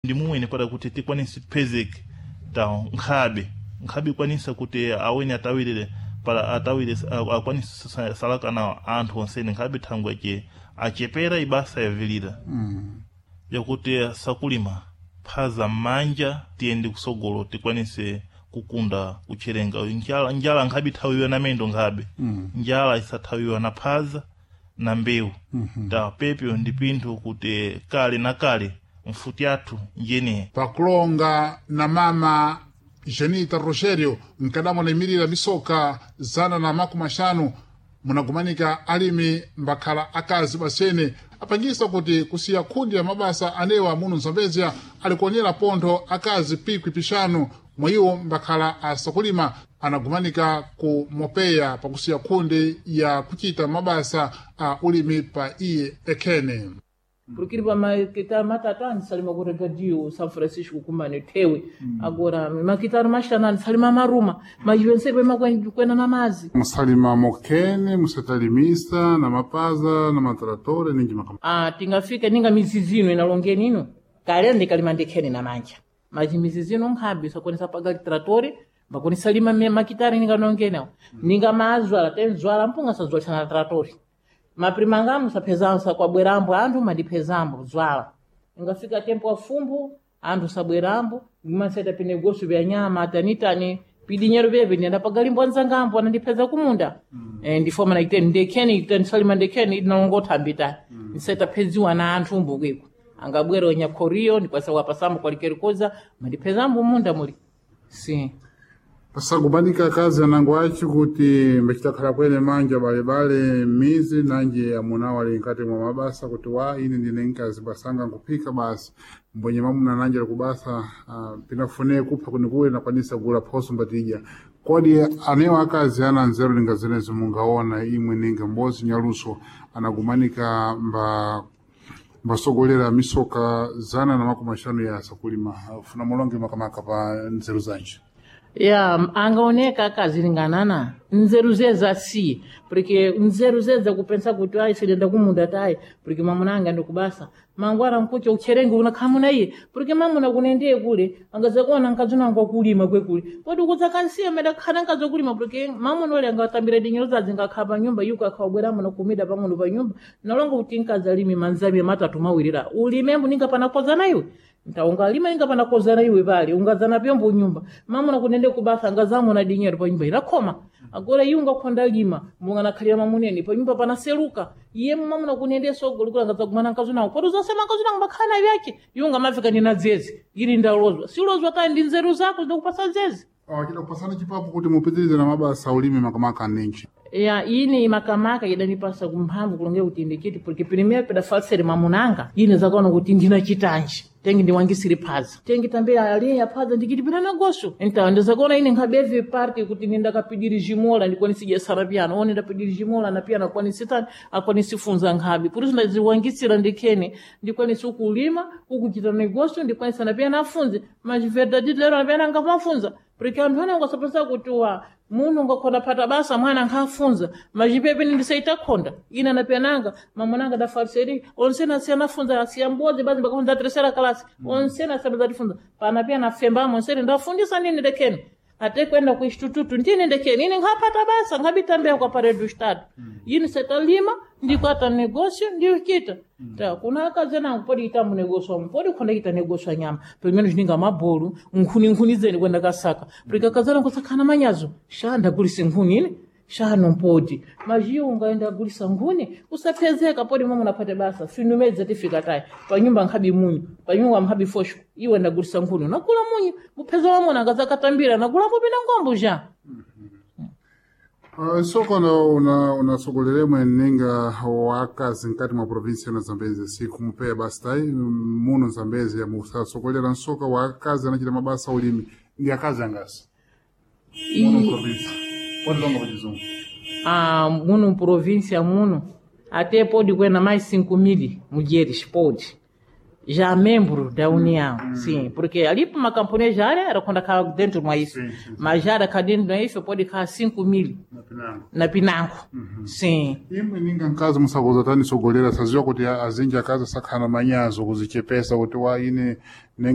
Ndi mumwene para kuti tikwanise tipezeke ta nkhabe nkhabe ikwanisa kuti aweni atawirire para atawire akwanise salaka na anthu onsene nkhabe thangwe ache achepera ibasa yavilira yakuti sakulima phaza m'manja tiyende kusogolo tikwanise kukunda kucherenga njala, njala nkhabe ithawiwa na mendo nkhabe njala isathawiwa na phaza na mbewu ta pepyo ndi pinthu kuti kale na kale mfuti athu njene Pakulonga na mama Janita Rogerio nkadamo anayimirira misoka 150 munagumanika alimi mbakhala akazi basene apangisa kuti kusiya khundi ya mabasa anewa muno Zambezia alikuonera pontho akazi pikwi pixanu mwa iwo mbakhala asakulima anagumanika ku Mopeya pakusiya khundi ya kuchita mabasa a ulimi pa iye ekhene. Porque pa maquitaro matatani salima ku regadio São Francisco kumane tewe agora maquitaro maxanani salima maruma mas vencer bem kwena na mazi. Musalima mokene musatalimisa na mapaza na matratore ninji makama. Ah, tingafika ninga mizizino inalongeni ino kale ndikalima ndikhene na manja mas mizizino nkhabi sakonesa paga tratore makonesa lima makitari ninga nongenawo ninga mazwala tenzwala mpunga sazwalisa na tratore maprimangamu saphezanso kwabwerambo anthu mandiphezambo zwala ingafika tempo afumbo anthu sabwerambo maseta pinegoso vya nyama tanitani pidinyero vyeve ndiyenda pagalimbo anzangambo anandipheza kumunda ndifoma naiteni ndekheni itanisalima ndekheni idinalongothambi tani nseta pheziwa na anthu mbukwiko angabwera onyakhoriyo ndikwasa wapasambo kwalikerikoza mandiphezambo munda muli sim. Pasagumanika akazi anango aci kuti mbacitakhala kwene manja balebale mizi nanji amunawo ali nkati mwa mabasa kuti wa ine ndine nkazi basanga nkuphika basi mbonye mamuna nanji ali kubasa pinafune kupha kunikuwe nakwanisa kugula phoso mbatidya kodi anewo akazi ana nzeru linga zenezo mungaona imwe ninga mbozi nyaluso anagumanika mba mbasogolera misoka 150 ya sakulima funa mulonge makamaka pa nzeru zanji. Ya angaoneka akazilinganana nzeru zeza si porque nzeru zeza kupensa kuti ayi silenda kumunda tayi porque mamuna anga ndikubasa mangwana nkuti ucherenge unakhamuna iye porque mamuna kunendiye kule angazakuona nkazunanga kulima kwekule podi kudzakansiya meda khana nkazokulima porque mamuna ule angatambira dinyero zadzi ngakhala pa nyumba yuko akhawabweramo nakumida pang'ono pa nyumba nalonga kuti nkazalimi manzami matatu mawirira ulimembo ninga panakozana iwe ntaungalima inga panakozana iwe pale ungazana pyombo nyumba mamuna kunende kubasa angazamuna dinyero pa nyumba ilakhoma agora iye ungakhonda lima munganakhalira mamuneni pa nyumba panaseluka iye mamuna kunende sogolo kula angazagumana nkazunawo kodi uzasema nkazunango makhala vyake iye ungamafika nina dzezi ili ndalozwa silozwa kani ndi nzeru zako zindakupasa dzezi Chida kupasana chipapo kuti mupitirize na mabasa ulimi makamaka ninji. Ya ine makamaka idanipasa kumphamvu kulonge kuti ndikiti porque primeiro pedafalsere mamunanga ine zakaona kuti ndina chitanji tengi ndiwangisire phaza tengi tambe ali ya phaza ndikiti pina nagoso então ndizakaona ine nkhabeve parte kuti nindakapidiri jimola ndikwanisi sara piano one ndapidiri jimola na piano akwanisi tani akwanisi funza nkhabi por isso ndaziwangisira ndikhene ndikwanisi ukulima ukuchita negoso ndikwanisa na piano afunze mas verdade lero na piano angamafunza porque anthu ena ungasapesa kuti wa muno ungakhonda phata basa mwana nkhafunza machipepe ndisaitakhonda ina napenanga mamunanga dafariseri onsena asiyanafunza asiya mbodzi bazi mbakafunza terceira classe onsena asiyabazatifunza pana pia nafembamo onsene ndafundisa nini ndekene ate kwenda ku instituto ndini ndekene ine nkhapata basa nkhabitambea kwa parede do estado ine setalima ndikwata negócio ndikita ta kuna akazi anango podi ita mu negócio amu podi khonda ita negócio anyama pelo menos ninga mabolo nkhuni nkhuni zeni kwenda kasaka porque akazi anango sakhana manyazo xa ndagulisa nkhuni ine xa não pode mas iwo ungaenda agulisa nkhuni usaphezeka podi momwe unapate basa finumedza tifika tayi panyumba nkhabi munyu panyumba nkhabi fosho iwe ndagulisa nkhuni unagula munyu mupheza wamuna angazakatambira nagulapo pina ngombo já. Sokona unasogoleremwe ninga wakazi nkati mwa provinsia na Zambezi sikumpeya basi tayi muno Zambezi musasogolera nsoka wakazi anachita mabasa ulimi ndi akazi angasi muno provinsia podilonga pachizungu. Ah, muno província muno até pode kwena mais 5 mil mulheres pode já membro da União, sim, porque ali para uma camponesa já era quando acaba dentro de isso, mas já era cá dentro de isso pode ficar 5 mil na Pinango. Na Pinango, sim. Imwe ninga nkazi musakoza tani sogolera saziwa kuti azinji akazi sakhala manyazo kuzichepesa kuti wa ine